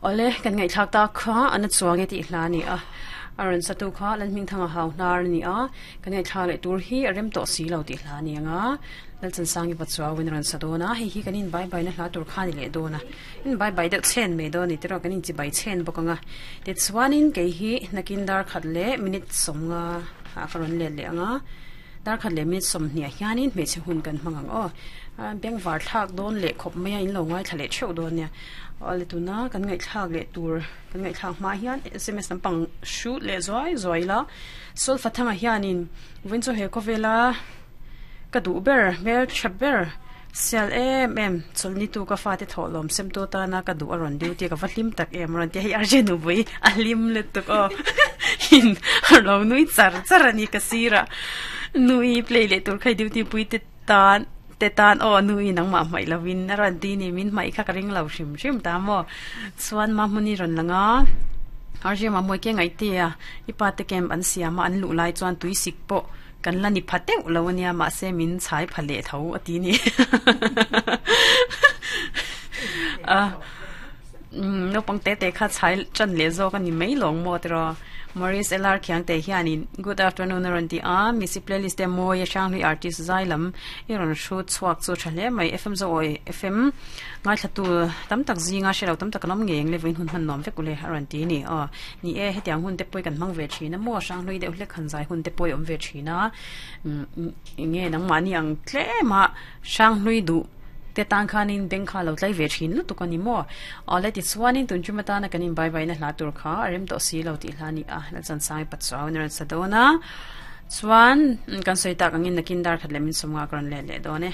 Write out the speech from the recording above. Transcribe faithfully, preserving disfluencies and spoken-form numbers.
Ole kan ngai thlak ta kha ana chuange ti hla ni a aran satu kha lan hming thanga hau hnar ni a kan ngai thla le tur hi arem to si lo ti hla ni anga lal chan sangi pachuaw win ran sadona hei hi kanin bye bye na hla tur kha ni le dona in bye bye deuh chen me do ni tero kanin chi bai chen bokanga te chuanin ke hi nakin dar khat le minute somnga a karon le le anga dar khat le minute som hnia hianin me che hun kan mangang o beng var thak don le khop mai in lo ngai thale theu don nia ole tuna kan ngai thak le tur kan ngai thak ma hian sms lampang shoot le zoi zoi la sol fathanga hianin wincho he kovela ka du ber mel thaber sel em em cholni tu ka fa te tholom sem to ta na ka du aron duty ka valim tak em ron te hi arje nu bui alim le tu ko hin lo nui char char ani ka sira nui play le tur khai duty pui te tan te tan o nui nang ma mai lawin aron ti ni min mai kha ka ring lo hrim hrim ta mo chuan ma muni ron langa arje ma moi ke ngai te a ipa te kem an siama an lu lai chuan tui sik po kan la ni phateu lo ania ma se min chai phale tho ati ni a no pang te te kha chai chan le zo kan ni mai long mo tro Maurice L R Khiang te hianin good afternoon ron ti a misi playlist te mo ya shang ri artist zailam iron shoot chuak chu thale mai F M zo oi F M ngai thatu tam tak zinga shelo tam tak lam ngeng le vin hun han nom vek ule ron ti ni a ni e hetiang hun te poi kan mang ve thina mo shang lui deuh hlek han zai hun te poi om ve thina nge nang ma ni ang tle ma shang lui du te tang khanin beng kha lo tlai ve thin lu tu kani mo ale ti chuanin tun chumata na kanin bye bye na hla tur kha arem to si lo ti hla ni a la chan sai patchaw na sadona chuan kan soi tak angin nakin dar khat lemin somnga kron le le done.